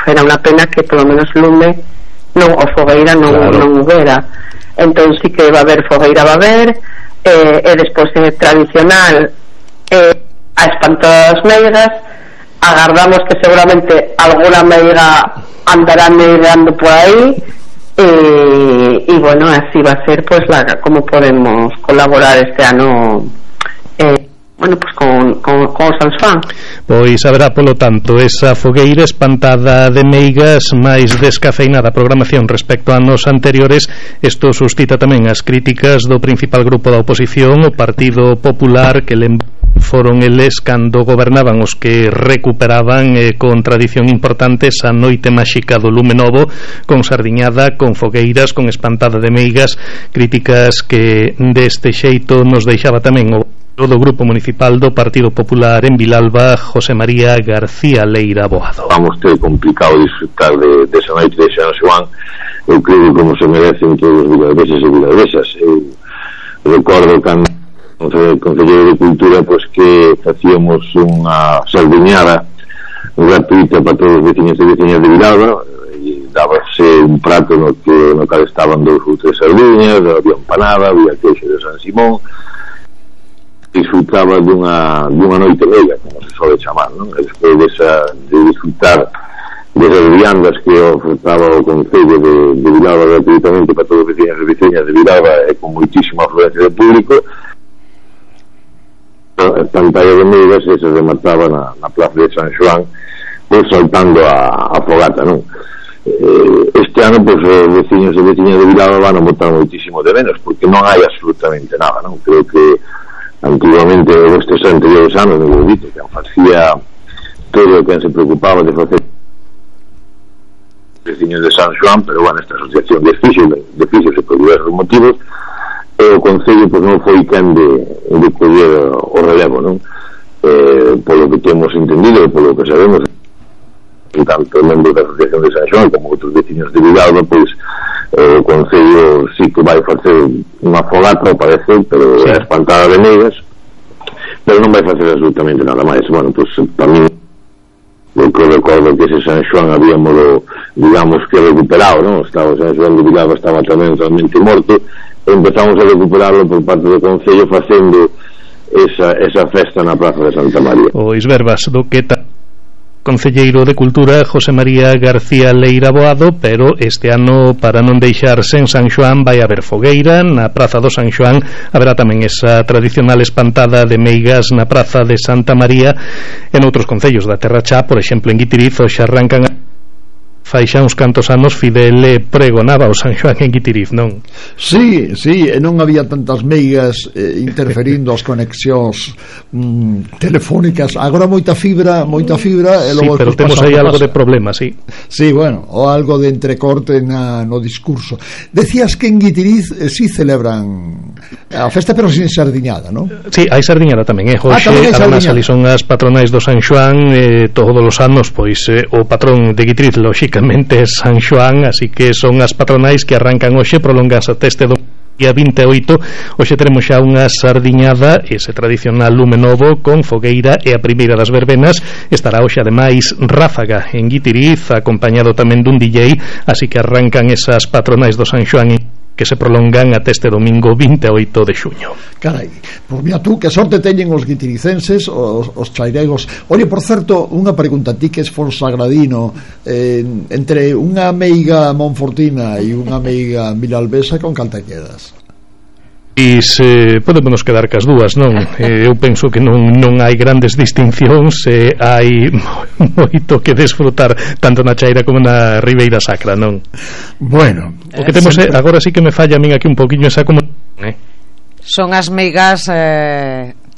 era unha pena que polo menos lume non, o fogueira non, claro, non houbera. Entón sí que va a haber fogueira, va a haber, e despois tradicional a espantada das meigas. Agardamos que seguramente alguna meiga andará meigando por aí, e bueno, así va a ser pues como podemos colaborar este ano bueno, pues con San Xoán. Pois haberá, polo tanto, esa fogueira espantada de meigas máis descafeinada programación respecto a anos anteriores. Isto suscita tamén as críticas do principal grupo da oposición, o Partido Popular, que foron eles cando gobernaban os que recuperaban con tradición importante esa noite máxica do lume novo, con sardiñada, con fogueiras, con espantada de meigas. Críticas que deste xeito nos deixaba tamén o do Grupo Municipal do Partido Popular en Vilalba, José María García Leira Boado. Vamos ter complicado disfrutar de esa noite de San Xoán. Eu creo que como se merecen todos os vilalbeses e vilalbesas. Eu recordo cando Concelleiro de Cultura pois que facíamos unha sardiñada gratuita para todos os veciños e veciñas de Vilalba, e dábase un prato no cal estaban 2 ou 3 sardiñas, había empanada, había queixo de San Simón. Disfrutaba dunha noite meiga, como se suele chamar, non? E despois de disfrutar desas viandas que ofertaba o Concello de Vilalba gratuitamente para todos os veciños e veciñas de Vilalba, e con moitísima afluencia de público, a pantalla de meigas se remataba na plaza de San Xoán, pois saltando a fogata, non? Este ano, pois, os veciños e veciñas de Vilalba van a botar moitísimo de menos, porque non hai absolutamente nada, non? Creo que antiguamente, estes anteriores anos, no Bolito, que facía todo o que se preocupaba de facer veciños de San Xoán, pero bueno, esta asociación desfíxose por diversos motivos, e o Concello pois non foi quen de coller o relevo, non? Polo que temos entendido e polo que sabemos, tanto membros da asociación de San Xoán como outros veciños de Vilalba, pois o Concello sí que vai facer unha fogata, ao parecer, pero é espantada de meigas, pero non vai facer absolutamente nada máis. Bueno, pois tamén eu que recordo que ese San Xoán habíamos, digamos, que recuperado, non? Estaba o San Xoán de Vilalba, estaba tamén totalmente morto, e empezamos a recuperarlo por parte do Concello facendo esa festa na Praza de Santa María. Pois verbas do que Concelleiro de Cultura José María García Leira Boado, pero este ano, para non deixarse en San Xoán, vai haber fogueira na Praza do San Xoán. Haberá tamén esa tradicional espantada de meigas na Praza de Santa María. En outros concellos da Terra Chá, por exemplo en Guitiriz, xa arrancan fai xa uns cantos anos Fidel pregonaba o San Xoán en Guitiriz, non? Sí, non había tantas meigas interferindo as conexións telefónicas. Agora moita fibra e logo sí, pero temos aí algo de problema, sí. Sí, bueno, o algo de entrecorte no discurso. Decías que en Guitiriz sí celebran a festa, pero sin sardiñada, non? Sí, hai sardiñada tamén, hoxe además ali son as patronais do San Xoán, todos os anos, pois o patrón de Guitiriz, lóxicamente, San Xoán, así que son as patronais que arrancan hoxe, prolonganse até este día 28. Hoxe teremos xa unha sardiñada, ese tradicional lume novo con fogueira, e a primeira das verbenas estará hoxe ademais Ráfaga en Guitiriz, acompañado tamén dun DJ, así que arrancan esas patronais do San Xoán que se prolongan até este domingo 28 de xuño. Carai, pois mira tú, que sorte teñen os guitiricenses, os chairegos. Oye, por certo, unha pregunta, ti que es forsagradino, entre unha meiga monfortina e unha meiga vilalbesa, con cal te quedas? E se podemos quedar cas dúas, non? Eu penso que non hai grandes distincións, hai moito que desfrutar tanto na Chaira como na Ribeira Sacra, non? Bueno, o que temos agora sí que me falla a min aquí un poquinho esa como son as meigas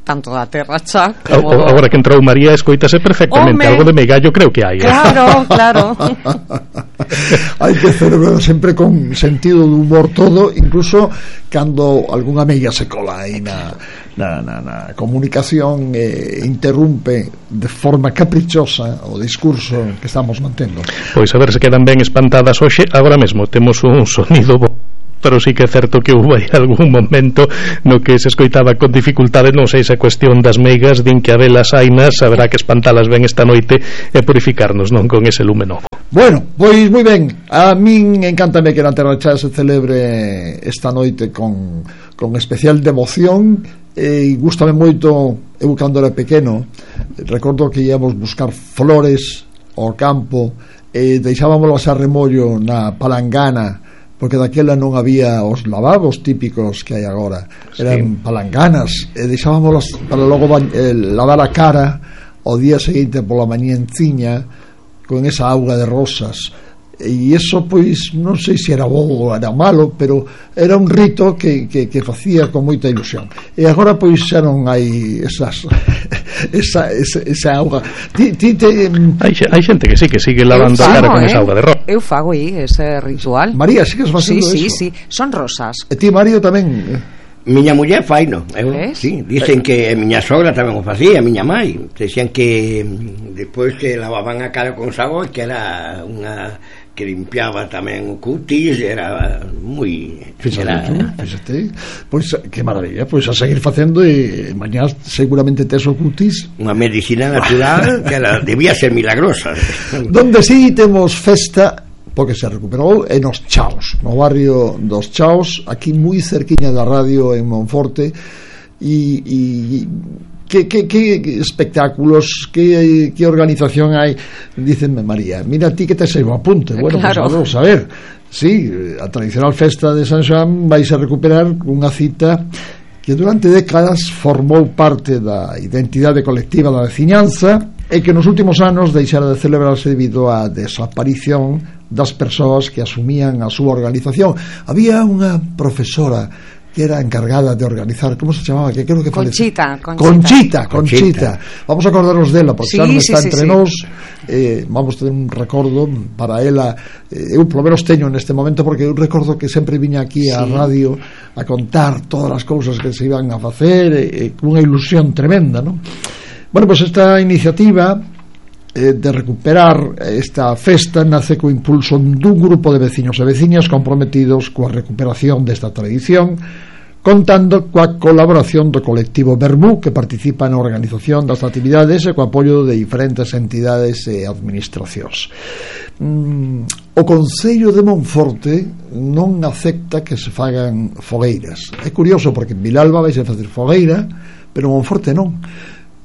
tanto da Terra Chá como agora que entrou María escoítase perfectamente. Algo de meigallo creo que hai. Claro. Hai que celebrar sempre con sentido de humor todo, incluso cando algunha meiga se cola aí na comunicación e interrumpe de forma caprichosa o discurso que estamos mantendo. Pois a ver se quedan ben espantadas hoxe. Agora mesmo temos un sonido pero sí que é certo que houve algún momento no que se escoitaba con dificultade, non sei se a cuestión das meigas, din que a velas ainas haberá que espantalas ben esta noite e purificarnos, non, con ese lume novo. Bueno, pois moi ben, a min encántame que na Terra Chá se celebre esta noite con especial devoción, e gústame moito. Eu cando era pequeno recordo que íamos buscar flores ao campo e deixábamos a remollo na palangana, porque daquela non había os lavabos típicos que hai agora, eran palanganas, e deixábamos para logo lavar a cara o día seguinte pola mañá enciña con esa auga de rosas. E iso, pois, non sei se era bo ou era malo, pero era un rito que facía con moita ilusión. E agora, pois, xa non hai esa auga. Hai xente que sí, que sigue lavando a cara con esa auga de rosa. Eu fago aí ese ritual. María, sigues facendo eso? Sí, son rosas. E ti, Mario, tamén? Miña muller faino, sí, dicen que miña sogra tamén o facía, miña mai, decían que despois que lavaban a cara con sabón, que era unha que limpiaba tamén o cutis, era moi... Fíxate, pois que maravilla, pois a seguir facendo, e mañá seguramente tes o cutis. Unha medicina natural que debía ser milagrosa. Donde sí temos festa, porque se recuperou, en os Chaos, no barrio dos Chaos, aquí moi cerquiña da radio en Monforte. E que espectáculos, que organización hai. Dícenme, María, mira ti que te sei o apunte. Bueno, claro. Pues vamos a ver. Sí, a tradicional festa de San Xoán vais a recuperar unha cita que durante décadas formou parte da identidade colectiva da veciñanza e que nos últimos anos deixara de celebrarse debido á desaparición das persoas que asumían a súa organización. Había unha profesora que era encargada de organizar, como se chamaba? Que creo que Conchita. Vamos a acordarnos dela, porque xa non está entre nós. Vamos ter un recordo para ela. Eu polo menos teño neste momento, porque eu recordo que sempre viña aquí á radio a contar todas as cousas que se iban a facer, con unha ilusión tremenda, non? Bueno, pues esta iniciativa de recuperar esta festa nace co impulso dun grupo de veciños e veciñas comprometidos coa recuperación desta tradición, contando coa colaboración do colectivo Verbú, que participa na organización das actividades e co apoio de diferentes entidades e administracións. O Concello de Monforte non acepta que se fagan fogueiras. É curioso, porque en Vilalba vais a facer fogueira, pero Monforte non.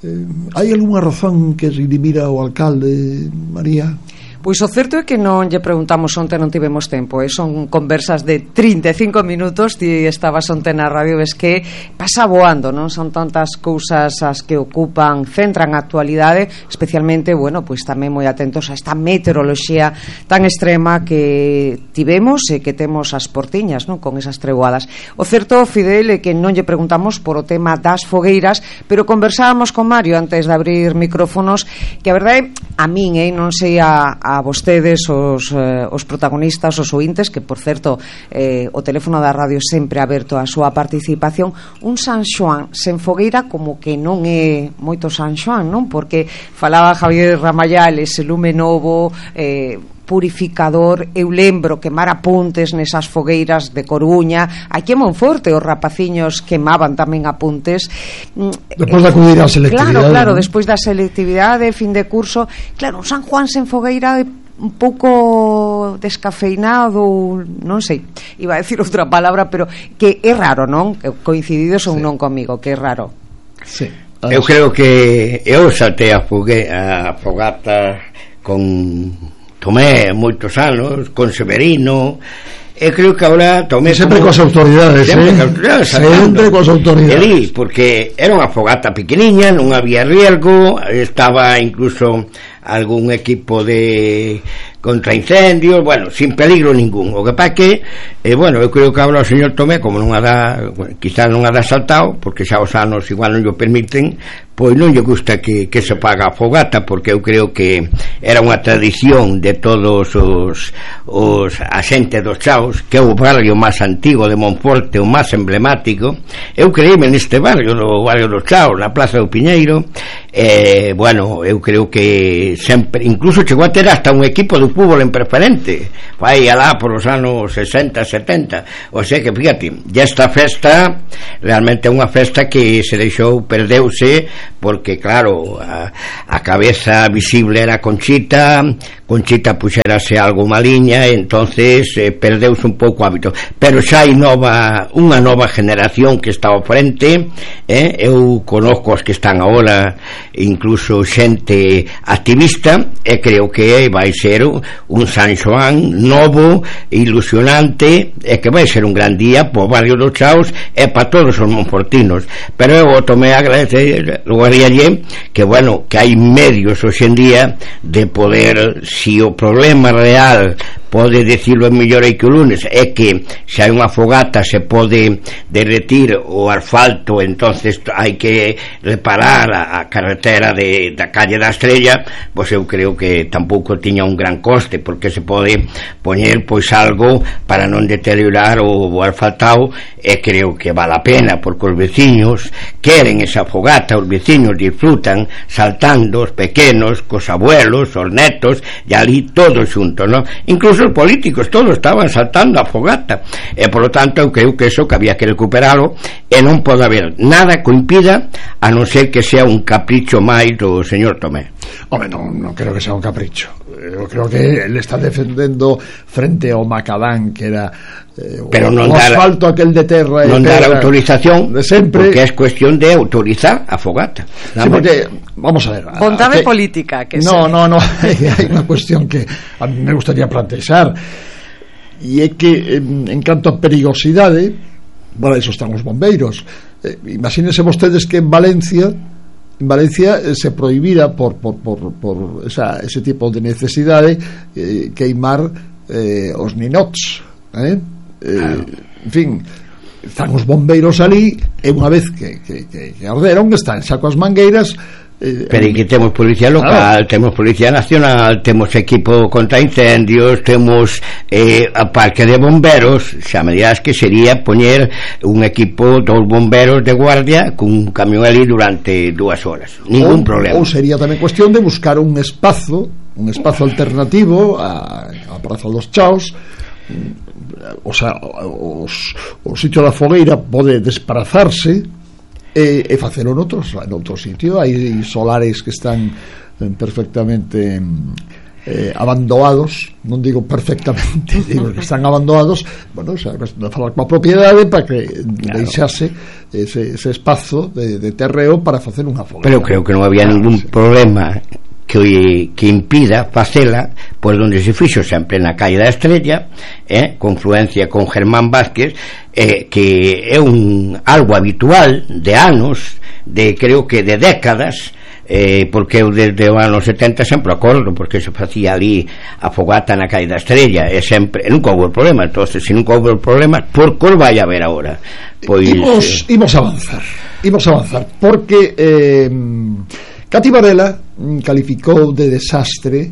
Hai algunha razón que se dimira o alcalde, María? Pois o certo é que non lle preguntamos onte, non tivemos tempo, son conversas de 35 minutos. Ti estabas onte na radio, ves que pasa voando, non? Son tantas cousas as que ocupan, centran a actualidade, especialmente, bueno, pois tamén moi atentos a esta meteoroloxía tan extrema que tivemos e que temos as portiñas, non? Con esas treguadas. O certo, Fidel, é que non lle preguntamos por o tema das fogueiras, pero conversábamos con Mario antes de abrir micrófonos, que a verdade, a min, non sei a vostedes, os protagonistas, os ointes, que por certo o teléfono da radio sempre aberto a súa participación. Un San Xoán sen fogueira como que non é moito San Xoán, non? Porque falaba Javier Ramayal, ese lume novo, purificador. Eu lembro quemar apuntes nesas fogueiras de Coruña. Aquí en Monforte os rapaciños quemaban tamén apuntes despois de acudir á selectividade. Claro, despois da selectividade, fin de curso. Claro, un San Juan sen fogueira é un pouco descafeinado, non sei, iba a decir outra palabra, pero que é raro, non? Coincididos ou non comigo, que é raro. Sí. Eu creo que eu saltei a fogata con Tomé moitos anos, con Severino, e creo que agora tomé sempre coas autoridades, sempre coas autoridades, porque era unha fogata pequeniña, non había riesgo, estaba incluso algún equipo de contraincendios, bueno, sin peligro ningún. O que pasa que, bueno, eu creo que agora o señor Tomé, como non a dá, quizás non a dá saltado, porque xa os anos igual non o permiten, pois non lle gusta que se paga a fogata, porque eu creo que era unha tradición de todos os axentes dos Chaos, que é o barrio máis antigo de Monforte, o máis emblemático. Eu creíme neste barrio, no barrio dos Chaos, na Plaza do Piñeiro, bueno, eu creo que sempre, incluso chegou a ter hasta un equipo de fútbol en preferente, vai alá por os anos 60, 70, o sea que fíjate, e esta festa realmente é unha festa que se deixou, perdeuse, porque claro, a cabeza visible era Conchita puxérase algo maliña, entonces perdeuse un pouco o hábito, pero xa hai unha nova generación que está ao frente, eu conozco os que están agora, incluso xente activista, e creo que vai ser un San Xoán novo, ilusionante, e que vai ser un gran día po barrio do Chaos e para todos os monfortinos. Pero eu tomei a agradecer que bueno, que hai medios hoxe en día de poder, si o problema real pode decirlo mellor aí que o lunes é que se hai unha fogata se pode derretir o asfalto, entonces hai que reparar a carretera da calle da Estrella, pois eu creo que tampouco tiña un gran coste, porque se pode poñer pois algo para non deteriorar o asfaltado, e creo que vale a pena, porque os veciños queren esa fogata, os veciños disfrutan saltando, os pequenos cos abuelos, os netos, e ali todos xuntos, ¿no? Incluso os políticos todos estaban saltando a fogata, e polo tanto eu creo que eso que había que recuperalo, e non pode haber nada que impida, a non ser que sea un capricho máis do señor Tomé. Home, non creo que sea un capricho. Eu creo que ele está defendendo frente ao macadán, que era pero non o asfalto aquel de terra, non dar autorización de sempre, porque é cuestión de autorizar a fogata. Sí, porque, vamos a ver, vontade política que no, hai unha cuestión que a mí me gustaría plantear, e é que en canto a perigosidade, bueno, eso están os bombeiros. Imagínense vostedes que en Valencia se prohibira por ese tipo de necesidade queimar os ninots, en fin, están os bombeiros ali, e unha vez que arderon, están xa coas mangueiras. Pero aquí temos policía local, temos policía nacional, temos equipo contra incendios, temos a parque de bomberos. Xa me dirás que sería poñer un equipo dos bomberos de guardia con un camión ali durante 2 horas, ningún problema. Ou sería tamén cuestión de buscar un espazo alternativo a Praza dos Chaos. O sea, o sitio da fogueira pode desplazarse e facelo noutro sitio. Hai solares que están perfectamente abandonados, non digo perfectamente, digo que están abandonados. Bueno, o sea, falar coa propiedade para que deixase ese espazo de terreo para facer unha fogueira. Pero creo que non había ningún problema que impida facela por onde se fixo, sempre na calle da Estrella, confluencia con Germán Vázquez, que é algo habitual de anos, creo que de décadas, porque eu desde os anos 70 sempre acordo, porque se facía ali a fogata na calle da Estrella, e sempre, nunca houve problema. Entonces, se nunca houve problema, por que vai haber agora? Pois imos avanzar, porque Cati Varela calificou de desastre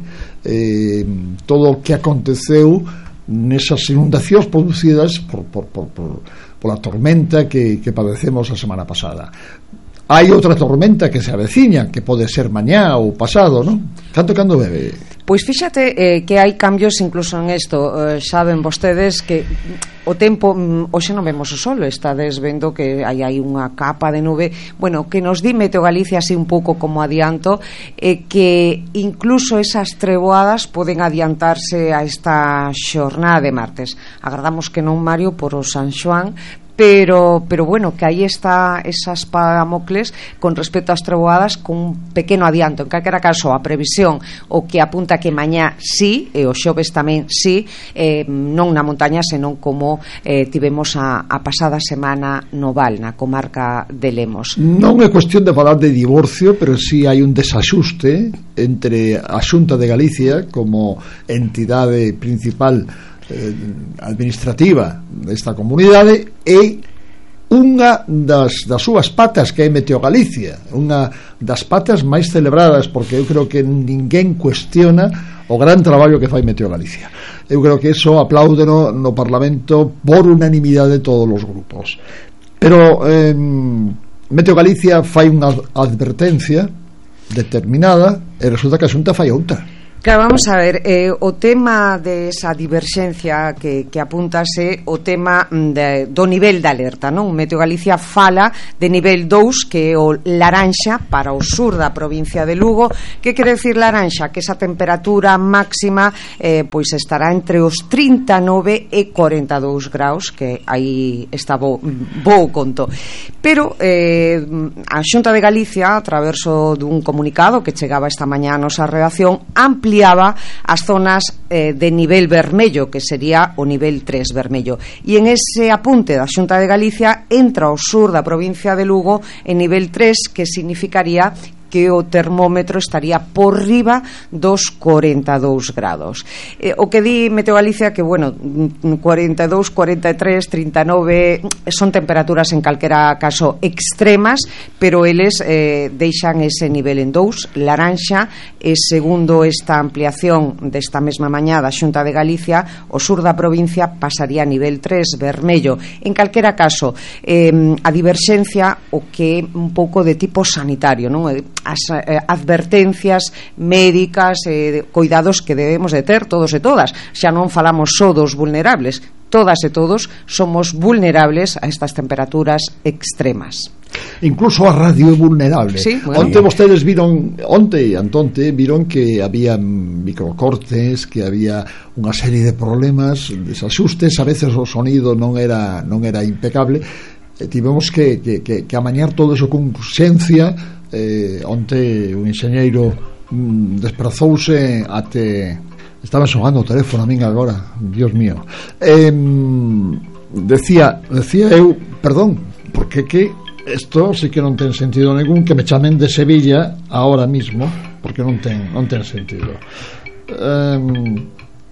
todo o que aconteceu nesas inundacións producidas pola tormenta que padecemos a semana pasada. Hai outra tormenta que se aveciña, que pode ser mañá ou pasado, non? Cando bebe? Pois fíxate que hai cambios incluso en isto. Saben vostedes que o tempo, hoxe non vemos o sol, estades vendo que hai unha capa de nube, bueno, que nos di Meteo Galicia así un pouco como adianto, que incluso esas treboadas poden adiantarse a esta xornada de martes. Agardamos que non, Mario, por o San Xoán, pero bueno, que aí está esa espada de Damocles con respecto ás treboadas, con un pequeno adianto. En calquera caso, a previsión o que apunta que mañá sí, e o xoves tamén sí, non na montaña, senón como tivemos a pasada semana no Val, na comarca de Lemos. Non é cuestión de falar de divorcio, pero sí hai un desaxuste entre a Xunta de Galicia como entidade principal administrativa desta comunidade e unha das súas patas, que é Meteo Galicia, unha das patas máis celebradas, porque eu creo que ninguén cuestiona o gran traballo que fai Meteo Galicia. Eu creo que eso apláudeno no Parlamento por unanimidade de todos os grupos. Pero Meteo Galicia fai unha advertencia determinada e resulta que a Xunta fai outra. Claro, vamos a ver, o tema desa diverxencia que apuntase o tema do nivel de alerta, non? Meteo Galicia fala de nivel 2, que é o laranxa para o sur da provincia de Lugo. Que quere decir laranxa? Que esa temperatura máxima pois estará entre os 39 e 42 graus, que aí está bo conto. Pero a Xunta de Galicia, a través dun comunicado que chegaba esta mañá a nosa redacción, ampliaba as zonas de nivel vermello, que sería o nivel 3 vermello, e en ese apunte da Xunta de Galicia entra o sur da provincia de Lugo en nivel 3, que significaría que o termómetro estaría por riba dos 42 grados. O que di Meteo Galicia que, bueno, 42, 43, 39 son temperaturas en calquera caso extremas, pero eles deixan ese nivel en 2, laranxa, e segundo esta ampliación desta mesma mañá da Xunta de Galicia, o sur da provincia pasaría a nivel 3, vermello. En calquera caso, a diverxencia o que é un pouco de tipo sanitario, non? As advertencias médicas, cuidados que debemos de ter todos e todas. Xa non falamos só dos vulnerables, todas e todos somos vulnerables a estas temperaturas extremas. Incluso a radio é vulnerable. Sí, bueno. Onte vostedes viron, viron que había microcortes, que había unha serie de problemas, desaxustes, a veces o sonido non era impecable. Tivemos que amañar todo eso con urxencia. Onte un enxeñeiro desprazouse até... Estaba sonando o teléfono a min agora, Dios mío. Decía eu, perdón, porque que isto sí que non ten sentido ningún que me chamen de Sevilla ahora mismo, porque non ten sentido.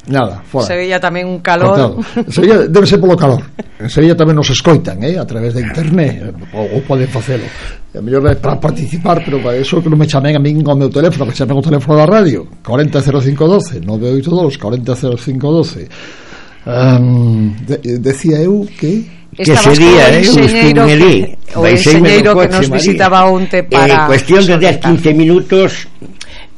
Nada, fora. Sevilla tamén un calor. Sevilla debe ser polo calor. En Sevilla tamén nos escoitan, a través de internet, ou poden facelo. A mellor é para participar, pero para eso que non me chamen a min ao meu teléfono, que chamen o teléfono da radio, 400512, 982 400512. Decía eu que sería o enxeñeiro que nos visitaba onte para cuestión de 10-15 minutos.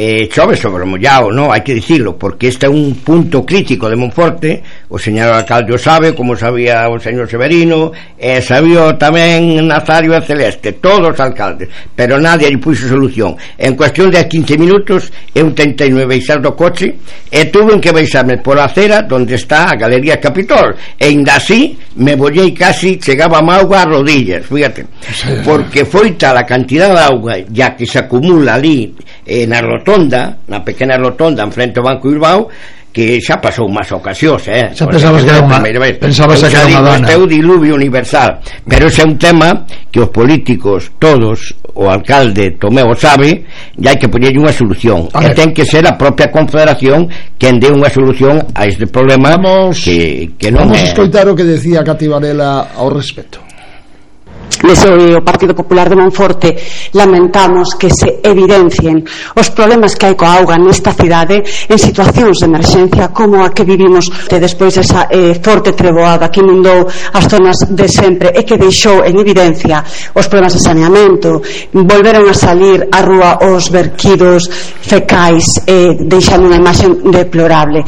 Chove sobre o mollao, non? Hai que dicirlo, porque este é un punto crítico de Monforte. O señor alcalde o sabe, como sabía o señor Severino, e sabía tamén Nazario e Celeste, todos os alcaldes, pero nadie lle puxo solución. En cuestión de 15 minutos eu tentei baixar do coche e tuve que baixarme por a acera onde está a Galería Capitol, e ainda así me bollei casi, chegaba a auga a rodillas, fíjate, porque foi tal a cantidad de auga ya que se acumula ali na rotonda, na pequena rotonda en frente ao Banco Bilbao, que xa pasou máis ocasións, xa pensabas que era unha dana. Este é o diluvio universal, pero ese é un tema que os políticos todos, o alcalde Tomeu sabe, e hai que poñer unha solución, e ten que ser a propia Confederación quen dé unha solución a este problema. Que non vamos a escoitar o que decía Cati Varela ao respecto. Desde o Partido Popular de Monforte lamentamos que se evidencien os problemas que hai coa auga nesta cidade en situacións de emerxencia como a que vivimos despois desa forte treboada que inundou as zonas de sempre e que deixou en evidencia os problemas de saneamento. Volveron a salir á rúa os verquidos fecais deixando unha imaxe deplorable.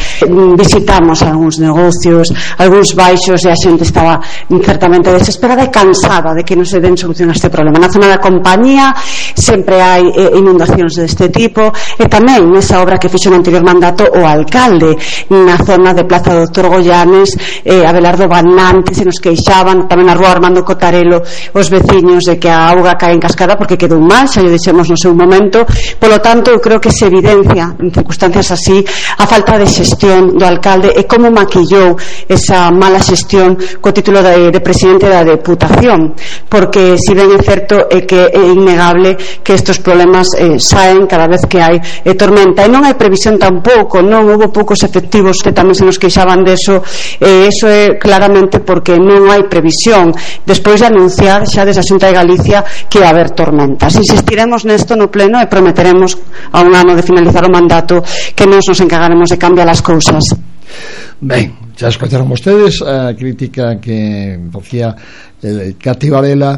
Visitamos algúns negocios, algúns baixos, e a xente estaba certamente desesperada e cansada de que non se den solución a este problema. Na zona da Compañía sempre hai inundacións deste tipo, e tamén nesa obra que fixo no anterior mandato o alcalde na zona de Plaza Doctor Goyanes, Abelardo Banante, se nos queixaban, tamén na rúa Armando Cotarelo os veciños de que a auga cae en cascada porque quedou mal, xa lle dixemos no seu momento. Polo tanto, eu creo que se evidencia en circunstancias así a falta de xestión do alcalde e como maquillou esa mala xestión co título de presidente da Deputación, porque si ben é certo é que é innegable que estes problemas saen cada vez que hai tormenta, e non hai previsión tampouco, non houve poucos efectivos que tamén se nos queixaban deso, e iso é claramente porque non hai previsión despois de anunciar xa desde a Xunta de Galicia que vai haber tormentas. Insistiremos nesto no pleno e prometeremos a un ano de finalizar o mandato que nos encargaremos de cambiar as cousas. Ben, xa escoitaron vostedes a crítica que facía Cati Varela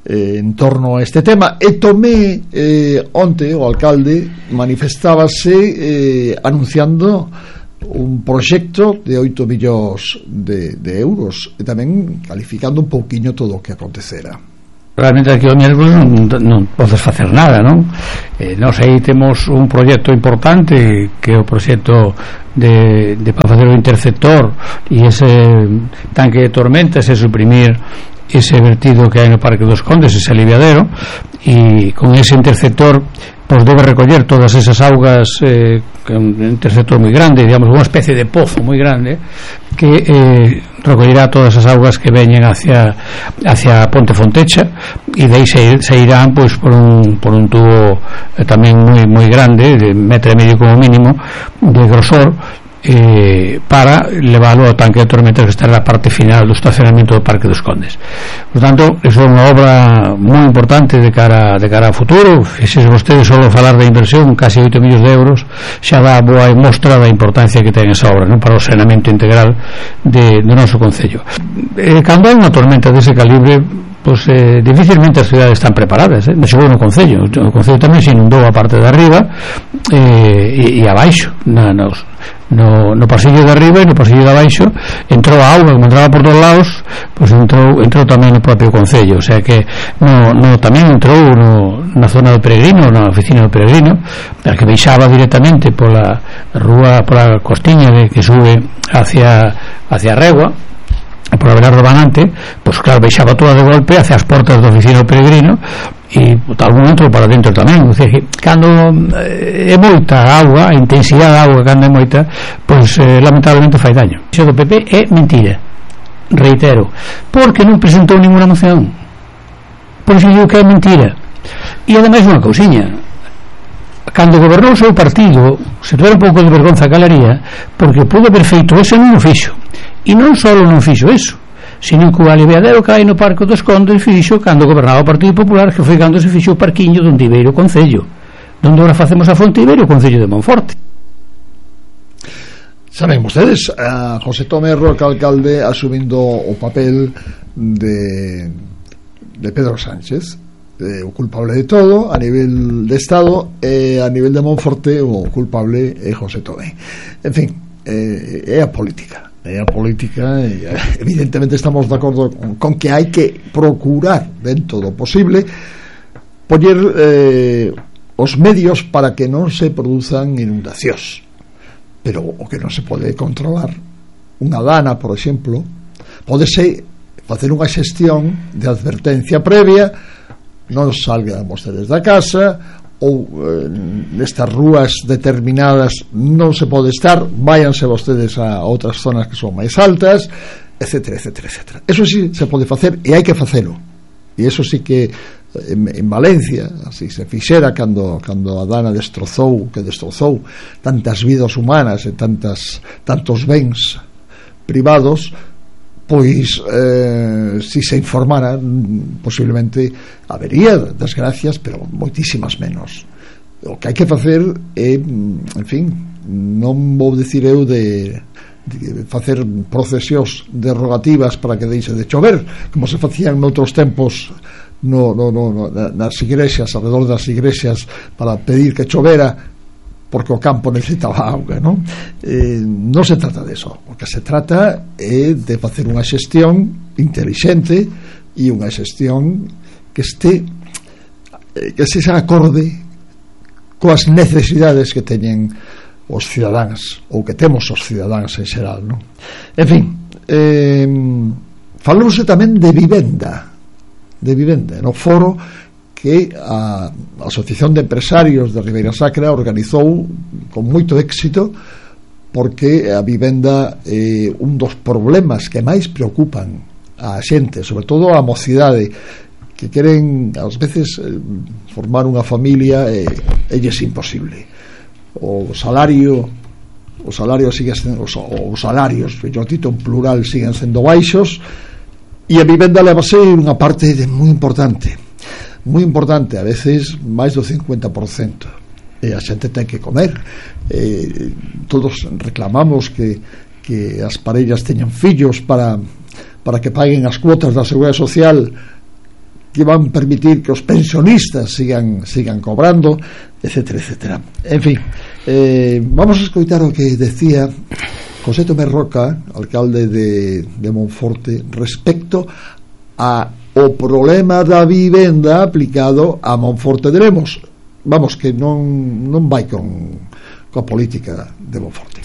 en torno a este tema. E Tomé onte o alcalde manifestábase anunciando un proxecto de 8 millóns de euros, e tamén calificando un pouquiño todo o que acontecera. Realmente aquí o miércoles non podes facer nada, non? Nós aí temos un proxecto importante, que é o proxecto de para facer o interceptor e ese tanque de tormentas e suprimir ese vertido que hai no Parque dos Condes, ese aliviadero, e con ese interceptor pues debe recoller todas esas augas, un interceptor moi grande, digamos unha especie de pozo moi grande que recollirá todas as augas que veñen hacia Ponte Fontecha, e de aí se irán pues por un tubo tamén moi grande, de 1,5 metros como mínimo de grosor, para leválo ao tanque de tormentas que está na parte final do estacionamento do Parque dos Condes. Por tanto, iso é unha obra moi importante de cara ao futuro. Se vostedes só falar da inversión, casi 8 millóns de euros, xa dá boa mostra da importancia que ten esa obra, non, para o saneamento integral do noso concello. Cando hai unha tormenta dese calibre, pues dificilmente as cidades están preparadas, non chegou no concello. O concello tamén se inundou a parte de arriba e abaixo, no pasillo de arriba e no pasillo de abaixo entrou a auga, como entraba por todos lados, pues entrou tamén no propio concello, o sea que tamén entrou na zona do Peregrino, na oficina do Peregrino, a que baixaba directamente pola rúa, pola costiña que sube hacia a Regua, por Abelardo Banante, pues claro, baixaba toda de golpe hacia as portas da oficina do Peregrino, e algún entrou para dentro tamén. O sea, que cando é moita auga, a intensidade da auga cando é moita, pues lamentablemente fai daño. Iso do PP é mentira, reitero, porque non presentou ninguna moción, por iso digo que é mentira. E ademais unha cousiña, cando gobernou o seu partido, se tuera un pouco de vergonza calaría, porque pudo haber feito eso, non o fixo. E non só non fixo eso, sino que o aliviadero que hai no Parque dos Condes fixo cando gobernaba o Partido Popular, que foi cando se fixo o parquiño donde Ibeiro Concello, donde ahora facemos a fonte Ibeiro Concello de Monforte. Saben vostedes, a José Tomé Roca, alcalde, asumindo o papel de Pedro Sánchez, o culpable de todo a nivel de Estado, e a nivel de Monforte o culpable é José Tomé. En fin, é a política, e evidentemente estamos de acordo con que hai que procurar dentro do posible poñer os medios para que non se produzan inundacións, pero o que non se pode controlar, unha dana, por exemplo, podese facer unha xestión de advertencia previa, non salgan vostedes da casa, ou nestas rúas determinadas non se pode estar, váyanse vostedes a outras zonas que son máis altas, etcétera, etcétera, etcétera. Eso sí se pode facer e hai que facelo. E eso sí que en Valencia así se fixera cando a dana destrozou tantas vidas humanas e tantos bens privados, pois si se informara posiblemente habería desgracias, pero moitísimas menos. O que hai que facer é, en fin, non vou dicir eu de facer procesións derogativas para que deixe de chover, como se facían noutros tempos nas igrexas, alrededor das igrexas, para pedir que chovera porque o campo necesitaba auga, non? Non se trata de eso. O que se trata é de facer unha xestión intelixente e unha xestión que se acorde coas necesidades que teñen os cidadáns, ou que temos os cidadáns en xeral, non? En fin, falouse tamén de vivenda no foro que a Asociación de Empresarios de Ribeira Sacra organizou con moito éxito, porque a vivenda é un dos problemas que máis preocupan a xente, sobre todo a mocidade, que queren ás veces formar unha familia e é imposible. Os salarios siguen sendo, os salarios, mellor dito, en plural, siguen sendo baixos, e a vivenda levase unha parte moi importante, a veces máis do 50%, e a xente ten que comer. Todos reclamamos que as parellas teñan fillos para que paguen as cuotas da Seguridade Social, que van permitir que os pensionistas sigan cobrando, etcétera, etcétera. En fin, vamos a escoitar o que decía José Tomé Roca, alcalde de Monforte, respecto a o problema da vivenda aplicado a Monforte de Lemos. Vamos, que non vai coa política de Monforte.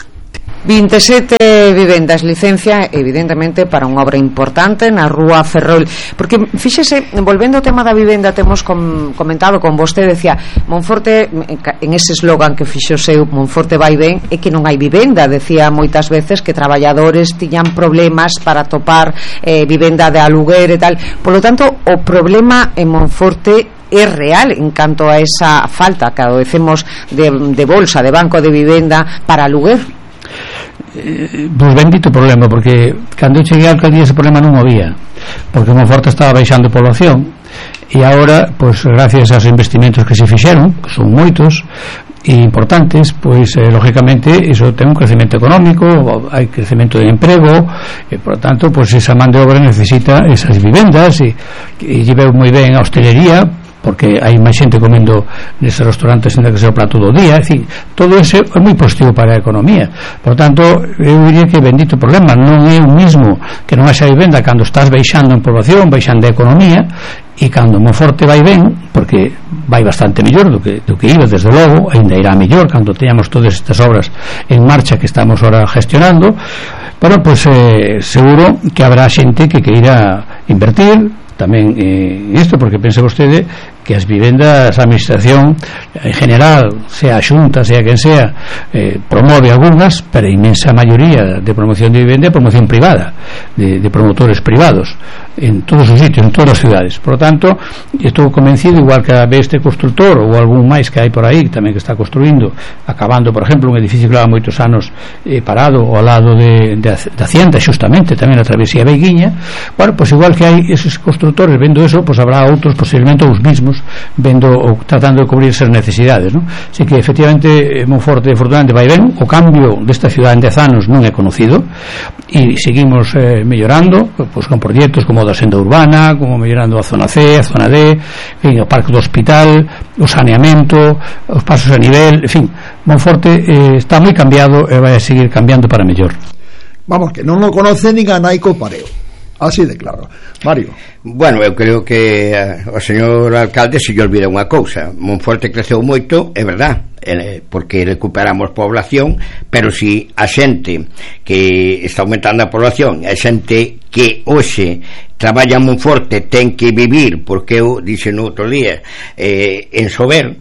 27 vivendas, licencia evidentemente para unha obra importante na rúa Ferrol, porque fíxese, volvendo ao tema da vivenda, temos comentado con vostede, decía Monforte, en ese eslogan que fixo seu, Monforte vai ben, é que non hai vivenda, decía moitas veces que traballadores tiñan problemas para topar vivenda de aluguer e tal, polo tanto o problema en Monforte é real en canto a esa falta que adocemos de bolsa, de banco de vivenda para aluguer. Pois bendito problema, porque cando eu cheguei á alcaldía ese problema non había, porque Monforte estaba baixando población, e agora, pois gracias aos investimentos que se fixeron, que son moitos e importantes, pois lógicamente iso ten un crecemento económico, hai crecemento de emprego, e por tanto, pois esa man de obra necesita esas vivendas, e lle veu moi ben a hostelería, porque hai máis xente comendo neses restaurantes en que se o prato do día, é dicir, todo eso é moi positivo para a economía. Por tanto, eu diría que bendito problema, non é o mismo que non haxa vivenda cando estás baixando en población, baixando a economía, e cando Monforte vai ben, porque vai bastante mellor do que iba, desde logo, ainda irá mellor cando teñamos todas estas obras en marcha que estamos ahora gestionando, pero pois seguro que habrá xente que queira invertir tamén isto, porque pense vostede que as vivendas, a administración en general, sea a Xunta, sea quen sea, promove algunhas, pero a inmensa maioría de promoción de vivenda é promoción privada, de promotores privados en todos os sitios, en todas as cidades. Por lo tanto, estou convencido, igual que a este constructor ou algún máis que hai por aí tamén que está construindo, acabando, por exemplo, un edificio que leva moitos anos parado ao lado de Hacienda, xustamente tamén a travesía Beiguiña. Bueno, pues igual que hai esos constructores vendo eso, pues habrá outros, posiblemente os mismos, vendo ou tratando de cubrir esas necesidades, ¿no? Así que efectivamente Monforte afortunadamente vai ben, o cambio desta ciudad en 10 anos non é conocido e seguimos mellorando, pues con proxectos como da senda urbana, como mellorando a zona C, a zona D, en fin, o parque do hospital, o saneamento, os pasos a nivel, en fin, Monforte está moi cambiado e vai a seguir cambiando para mellor. Vamos, que non lo conoce nin a Naico Pareo. Así de claro. Mario. Bueno, eu creo que o señor alcalde se lle olvida unha cousa. Monforte creceu moito, é verdad, porque recuperamos población, pero si a xente que está aumentando a población, a xente que hoxe traballa en Monforte ten que vivir, porque eu dixe no outro día, en Sober,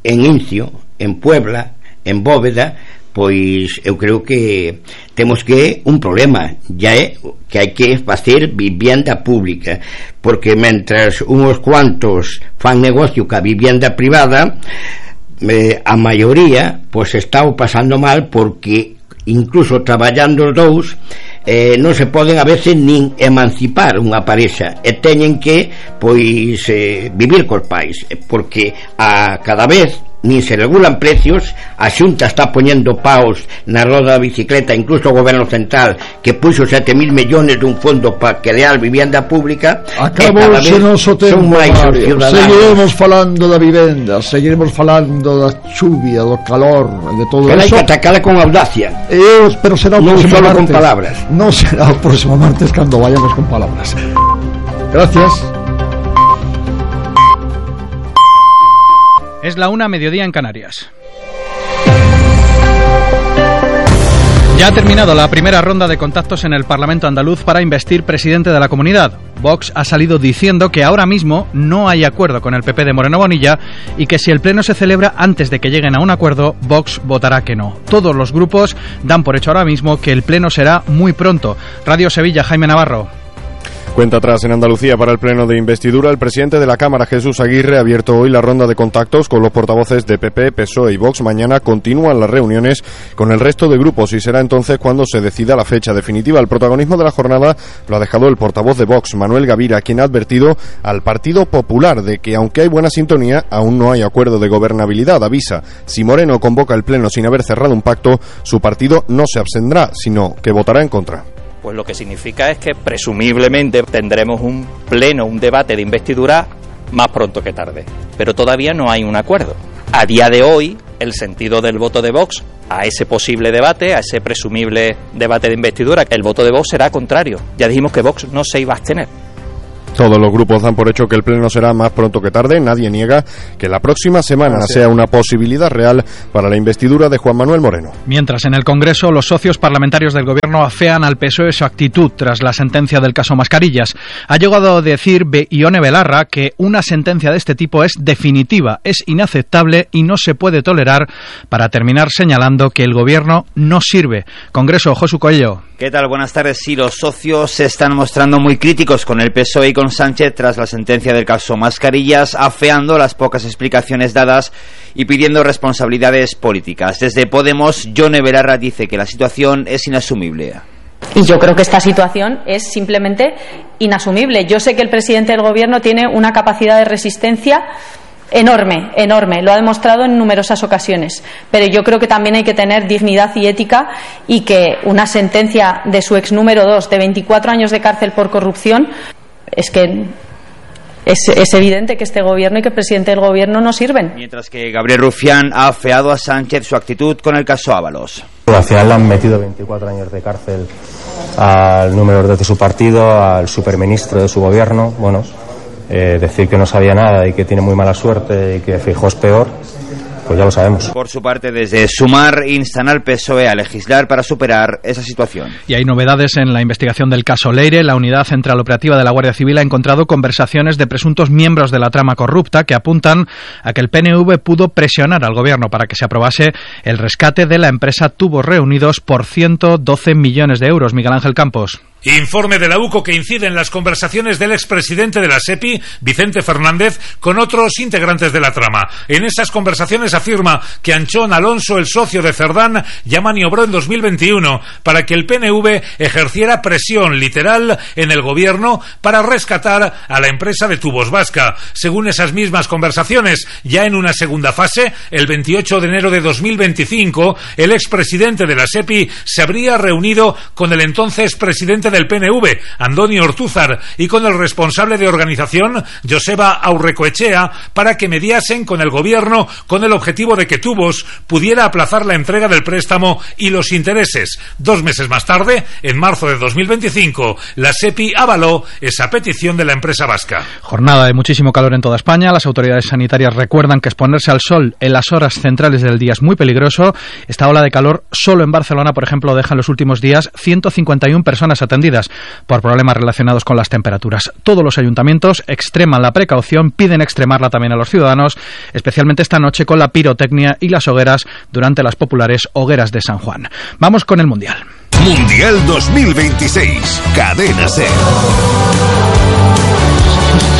en Incio, en Puebla, en Bóveda, pois eu creo que temos que un problema ya é que hai que facer vivienda pública, porque mentras uns cuantos fan negocio ca vivienda privada, a maioría pois está o pasando mal, porque incluso traballando os dous non se poden a veces nin emancipar unha parexa e teñen que pois vivir cos pais, porque a cada vez nin se regulan precios, a Xunta está poñendo paus na roda da bicicleta, incluso o goberno central que puxo 7.000 millones dun fondo para crear vivienda pública. Acabouse o noso tempo, Mario. Seguiremos falando da vivenda, seguiremos falando da chuvia, do calor, de todo pero eso. Pero hai que atacala con audacia, pero será o non próximo solo martes. Con palabras. Non será o próximo martes cando vayamos con palabras. Gracias. Es la 1:00 mediodía en Canarias. Ya ha terminado la primera ronda de contactos en el Parlamento andaluz para investir presidente de la comunidad. Vox ha salido diciendo que ahora mismo no hay acuerdo con el PP de Moreno Bonilla y que si el pleno se celebra antes de que lleguen a un acuerdo, Vox votará que no. Todos los grupos dan por hecho ahora mismo que el pleno será muy pronto. Radio Sevilla, Jaime Navarro. Cuenta atrás en Andalucía para el pleno de investidura. El presidente de la Cámara, Jesús Aguirre, ha abierto hoy la ronda de contactos con los portavoces de PP, PSOE y Vox. Mañana continúan las reuniones con el resto de grupos y será entonces cuando se decida la fecha definitiva. El protagonismo de la jornada lo ha dejado el portavoz de Vox, Manuel Gavira, quien ha advertido al Partido Popular de que, aunque hay buena sintonía, aún no hay acuerdo de gobernabilidad. Avisa, si Moreno convoca el pleno sin haber cerrado un pacto, su partido no se abstendrá, sino que votará en contra. pues lo que significa es que presumiblemente tendremos un pleno, un debate de investidura más pronto que tarde. Pero todavía no hay un acuerdo. A día de hoy, el sentido del voto de Vox a ese posible debate, a ese presumible debate de investidura, el voto de Vox será contrario. Ya dijimos que Vox no se iba a abstener. Todos los grupos dan por hecho que el pleno será más pronto que tarde. Nadie niega que la próxima semana sea una posibilidad real para la investidura de Juan Manuel Moreno. Mientras en el Congreso los socios parlamentarios del Gobierno afean al PSOE su actitud tras la sentencia del caso Mascarillas. Ha llegado a decir Ione Belarra que una sentencia de este tipo es definitiva, es inaceptable y no se puede tolerar, para terminar señalando que el Gobierno no sirve. Congreso, Josu Coello. ¿Qué tal? Buenas tardes. Sí, los socios se están mostrando muy críticos con el PSOE y con Sánchez tras la sentencia del caso Mascarillas, afeando las pocas explicaciones dadas y pidiendo responsabilidades políticas. Desde Podemos, Ione Belarra dice que la situación es inasumible. Y yo creo que esta situación es simplemente inasumible. Yo sé que el presidente del Gobierno tiene una capacidad de resistencia enorme, lo ha demostrado en numerosas ocasiones, pero yo creo que también hay que tener dignidad y ética, y que una sentencia de su ex número 2 de 24 años de cárcel por corrupción, es que es evidente que este Gobierno y que el presidente del Gobierno no sirven. Mientras que Gabriel Rufián ha afeado a Sánchez su actitud con el caso Ábalos. Al final le han metido 24 años de cárcel al número 2 de su partido, al superministro de su Gobierno. Bueno, decir que no sabía nada y que tiene muy mala suerte y que Feijóo es peor, pues ya lo sabemos. Por su parte, desde Sumar instan al PSOE a legislar para superar esa situación. Y hay novedades en la investigación del caso Leire. La Unidad Central Operativa de la Guardia Civil ha encontrado conversaciones de presuntos miembros de la trama corrupta que apuntan a que el PNV pudo presionar al Gobierno para que se aprobase el rescate de la empresa Tubos Reunidos por 112 millones de euros. Miguel Ángel Campos. Informe de la UCO que incide en las conversaciones del expresidente de la SEPI, Vicente Fernández, con otros integrantes de la trama. En esas conversaciones afirma que Anchón Alonso, el socio de Cerdán, ya maniobró en 2021 para que el PNV ejerciera presión literal en el Gobierno para rescatar a la empresa de Tubos Vasca. Según esas mismas conversaciones, ya en una segunda fase, el 28 de enero de 2025, el expresidente de la SEPI se habría reunido con el entonces presidente del PNV, Andoni Ortúzar, y con el responsable de organización, Joseba Aurrecoechea, para que mediasen con el Gobierno con el objetivo de que Tubos pudiera aplazar la entrega del préstamo y los intereses. 2 meses más tarde, en marzo de 2025, la SEPI avaló esa petición de la empresa vasca. Jornada de muchísimo calor en toda España. Las autoridades sanitarias recuerdan que exponerse al sol en las horas centrales del día es muy peligroso. Esta ola de calor solo en Barcelona, por ejemplo, deja en los últimos días 151 personas atendidas por problemas relacionados con las temperaturas. Todos los ayuntamientos extreman la precaución, piden extremarla también a los ciudadanos, especialmente esta noche con la pirotecnia y las hogueras durante las populares hogueras de San Juan. Vamos con el Mundial. Mundial 2026, Cadena SER.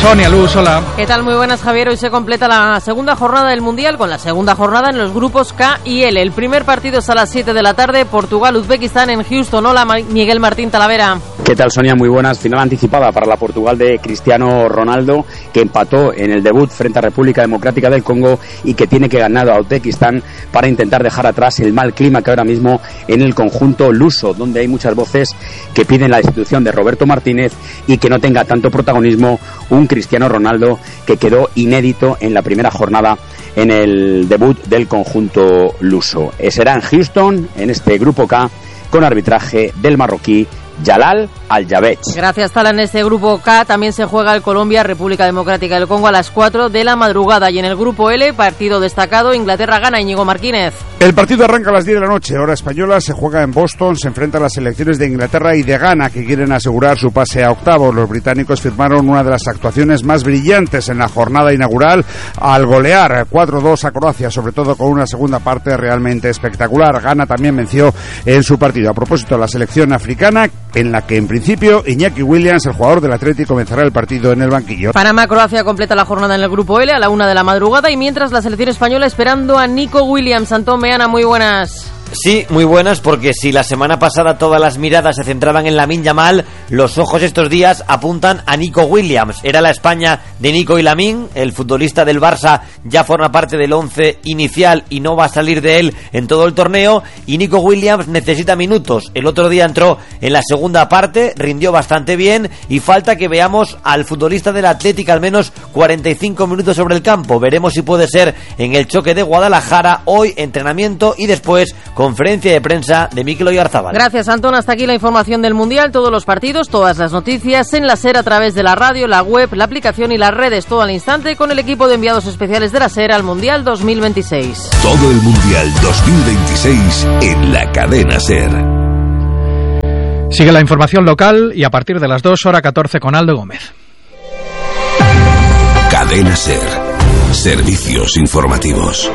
Sonia Luz, hola. ¿Qué tal? Muy buenas, Javier. Hoy se completa la segunda jornada del Mundial, con la segunda jornada en los grupos K y L. El primer partido es a las 7 de la tarde, Portugal-Uzbekistán en Houston. Hola, Miguel Martín Talavera. ¿Qué tal, Sonia? Muy buenas. Final anticipada para la Portugal de Cristiano Ronaldo, que empató en el debut frente a República Democrática del Congo y que tiene que ganar a Uzbekistán para intentar dejar atrás el mal clima que ahora mismo en el conjunto luso, donde hay muchas voces que piden la destitución de Roberto Martínez y que no tenga tanto protagonismo un Cristiano Ronaldo que quedó inédito en la primera jornada en el debut del conjunto luso. Será en Houston, en este grupo K, con arbitraje del marroquí Jalal Al-Jabech. Gracias, Tala. En este grupo K también se juega el Colombia-República Democrática del Congo a las 4 de la madrugada. Y en el grupo L, partido destacado, Inglaterra gana. Íñigo Martínez. El partido arranca a las 10 de la noche, hora española, se juega en Boston, se enfrenta a las selecciones de Inglaterra y de Ghana, que quieren asegurar su pase a octavos. Los británicos firmaron una de las actuaciones más brillantes en la jornada inaugural al golear 4-2 a Croacia, sobre todo con una segunda parte realmente espectacular. Ghana también venció en su partido. A propósito, la selección africana, en la que en principio Iñaki Williams, el jugador del Atleti, comenzará el partido en el banquillo. Panamá-Croacia completa la jornada en el grupo L a la 1 de la madrugada, y mientras la selección española esperando a Nico Williams. Antón Meana, muy buenas. Sí, muy buenas, porque si la semana pasada todas las miradas se centraban en Lamine Yamal, los ojos estos días apuntan a Nico Williams. Era la España de Nico y Lamine, el futbolista del Barça ya forma parte del 11 inicial y no va a salir de él en todo el torneo, y Nico Williams necesita minutos. El otro día entró en la segunda parte, rindió bastante bien y falta que veamos al futbolista del Atlético al menos 45 minutos sobre el campo. Veremos si puede ser en el choque de Guadalajara. Hoy entrenamiento y después conferencia de prensa de Mikel Oyarzabal. Gracias, Antón. Hasta aquí la información del Mundial. Todos los partidos, todas las noticias en la SER a través de la radio, la web, la aplicación y las redes. Todo al instante con el equipo de enviados especiales de la SER al Mundial 2026. Todo el Mundial 2026 en la cadena SER. Sigue la información local y a partir de las 2:14 con Aldo Gómez. Cadena SER. Servicios informativos.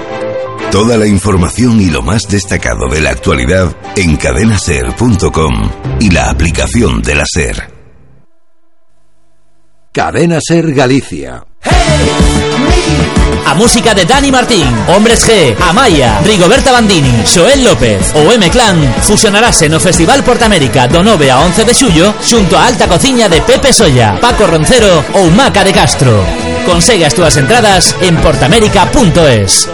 Toda la información y lo más destacado de la actualidad en cadenaser.com y la aplicación de la SER. Cadena SER Galicia. A música de Dani Martín, Hombres G, Amaya, Rigoberta Bandini, Xoel López ou M-Clan fusionarase no Festival Portamérica do 9 a 11 de xullo xunto a Alta Cociña de Pepe Solla, Paco Roncero ou Maca de Castro. Consegue as túas entradas en portamérica.es.